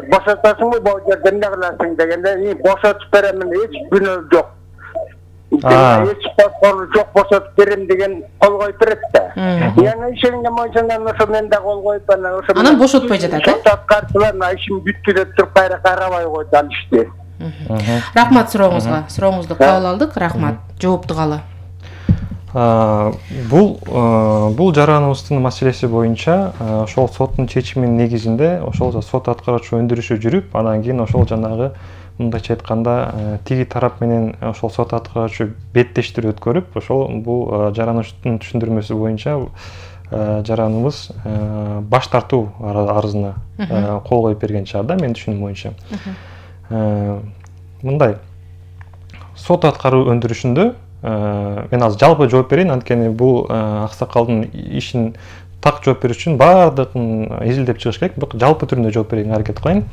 бошотасыңбы бул жерден эмне кыласың дегенде бошотуп беремин эч күнөө жок. Эч коркору жок бошотуп берем деген кол коюп берет да. Ишенген моюнчандан ошо мен да кол коюп анан бошотпой жатат сот аткарчылар ишин бүттү деп туруп кайра карабай койду ал ишти. Рахмат сурооңузга. Сурооңузду кабыл алдык. Рахмат. Жоопту калы. Бул жараныбыздын маселеси боюнча ошол соттун чечиминин негизинде ошол сот аткаруучу өндүрүшү жүрүп, анан кийин ошол жанагы мындайча айтканда тиги тарап менен ошол сот аткаруучу беттештир өткөрүп, ошол бул жаранычтын түшүндүрмөсү боюнча жараныбыз баш тартуу арызына кол коюп берген чыгар да, менин түшүнүгүм боюнча. Мындай сот аткаруу өндүрүшүндө мен азыр жалпы жооп берейин, анткени бул аксакалдын ишин так жооп берүү үчүн баардыгын изилдеп чыгыш керек, бирок жалпы түрүндө жооп берүүгө аракет кылайын.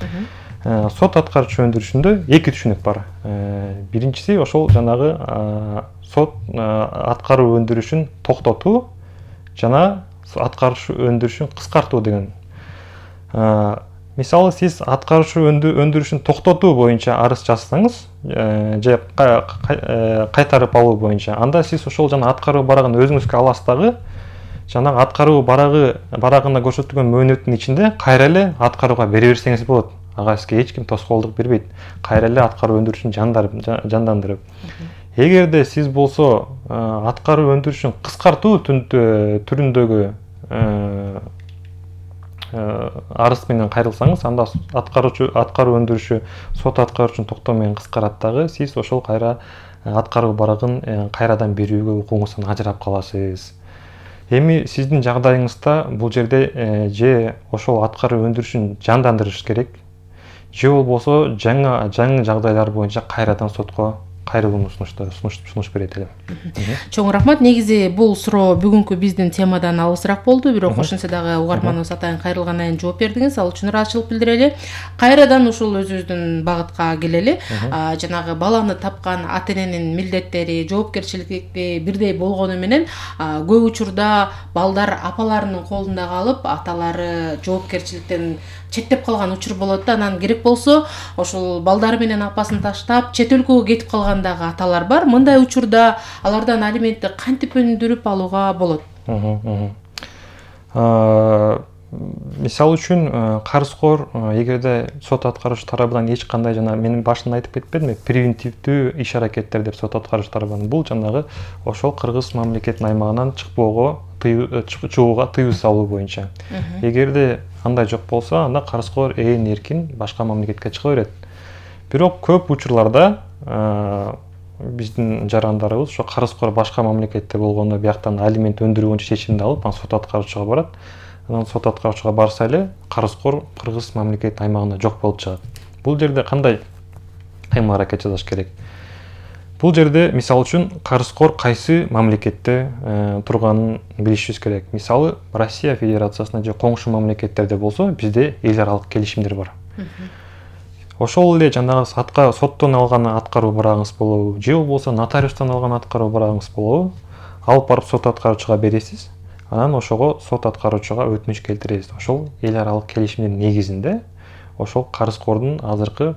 Сот аткаруучу өндүрүшүндө эки түшүнүк бар. Биринчиси ошол жанагы сот аткаруу өндүрүшүн токтотуу жана аткаруучу өндүрүшүн кыскартуу деген. Мисалы сиз аткаруучу өндүрүшүн токтотуу боюнча арыз жазсаңыз, же кайтарып алуу боюнча, анда сиз ошол жана аткаруу барагын өзүңүзгө аласыз дагы, жанагы аткаруу барагына көрсөтүлгөн мөөнөттүн ичинде кайра эле аткарууга бере берсеңиз болот. Ага сизге эч ким тоскоолдук бербейт. Кайра эле аткаруу өндүрүшүн жандандырып. Эгерде сиз болсо аткаруу өндүрүшүн кыскартуу түрүндөгү арыз менен кайрылсаңыз, анда аткаруу өндүрүшү сот аткаруучунун токтоо менен кыскарат дагы, сиз ошол кайра аткаруу барагын кайрадан берүүгө укугуңуздан ажырап каласыз. Эми сиздин жагдайыңызда бул жерде же ошол аткаруу өндүрүшүн жандандырыш керек, же болбосо жаңы жагдайлар боюнча кайрадан сотко кайрылууну сунуш берет элем. Чоң рахмат. Негизи бул суроо бүгүнкү биздин темадан алысыраак болду, бирок ошентсе дагы угарманыбыз атайын кайрылгандан кийин жооп бердиңиз. Ал үчүн ыраазычылык билдирели. Кайрадан ушул өзүбүздүн багытка келели. Жанагы баланы тапкан ата-эненин милдеттери, жоопкерчилиги бирдей болгону менен көп учурда балдар апаларынын колунда калып, аталары жоопкерчиликтен четтеп калган учур болот да. Анан керек болсо ошол балдары менен апасын таштап чет өлкөгө кетип калгандагы аталар бар. Мындай учурда алардан алиментти кантип өндүрүп алууга болот? Мисалы үчүн карызкор эгерде сот аткаруучу тарабынан эч кандай жана менин башында айтып кетпедимби, превентивдүү иш аракеттер деп сот аткаруучу тарабынан бул жанагы ошол кыргыз мамлекетинин аймагынан чыгууга тыюу салуу боюнча. Эгерде андай жок болсо, анда карызкор эркин башка мамлекетке чыга берет. Бирок көп учурларда биздин жарандарыбыз ошо карызкор башка мамлекетте болгондо бияктан алимент өндүрүү боюнча чечимди алып, анан сот аткаруучуга барат. Анан сот аткаруучуга барса эле карызкор кыргыз мамлекетинин аймагында жок болуп чыгат. Бул жерде кандай кыймыл аракет жасаш керек? Бул жерде мисалы үчүн карызкор кайсы мамлекетте турганын билишибиз керек. Мисалы Россия Федерациясында же коңшу мамлекеттерде болсо, бизде эл аралык келишимдер бар. Ошол эле жанагы соттон алган аткаруу барагыңыз болобу, же болбосо нотариустан алган аткаруу барагыңыз болобу, алып барып сот аткаруучуга бересиз. Анан ошого сот аткаруучуга өтүнүч келтиресиз. Ошол эл аралык келишимдин негизинде ошол карызкордун азыркы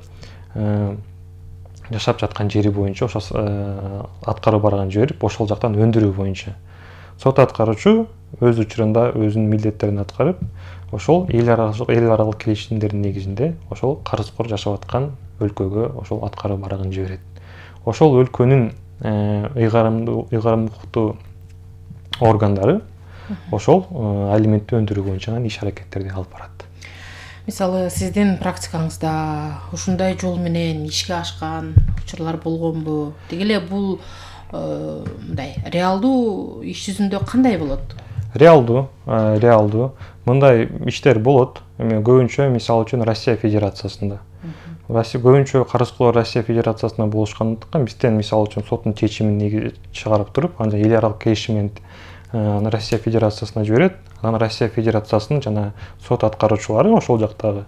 жашап жаткан жери боюнча ошо аткаруу барагын жиберип, ошол жактан өндүрүү боюнча сот аткаруучу өз учурунда өзүнүн милдеттерин аткарып, ошол эл аралык келишимдердин негизинде ошол карызкор жашап аткан өлкөгө ошол аткаруу барагын жиберет. Ошол өлкөнүн ыйгарымдуулуктуу органдары ошол алиментти өндүрүү боюнча иш аракеттерди алып барат. Мисалы, сиздин практикаңызда ушундай жол менен ишке ашкан учурлар болгонбу? Деги эле бул мындай реалдуу иш жүзүндө кандай болот? Реалдуу. Мындай иштер болот. Эми көбүнчө мисалы үчүн Россия Федерациясында. Көбүнчө карызкорлор Россия Федерациясында болушкандыктан бизден мисалы үчүн соттун чечимин чыгарып туруп, анан эл аралык келишим менен Россия Федерациясына жиберет. Анан Россия Федерациясынын жана сот аткаруучулары ошол жактагы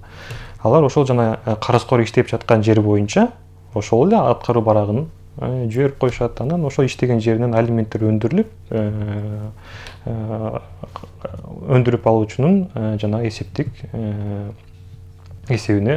алар ошол жана карызкор иштеп жаткан жер боюнча ошол эле аткаруу барагын жиберип коюшат. Анан ошол иштеген жеринен алименттер өндүрүлүп, өндүрүп алуучунун жана эсептик эсебине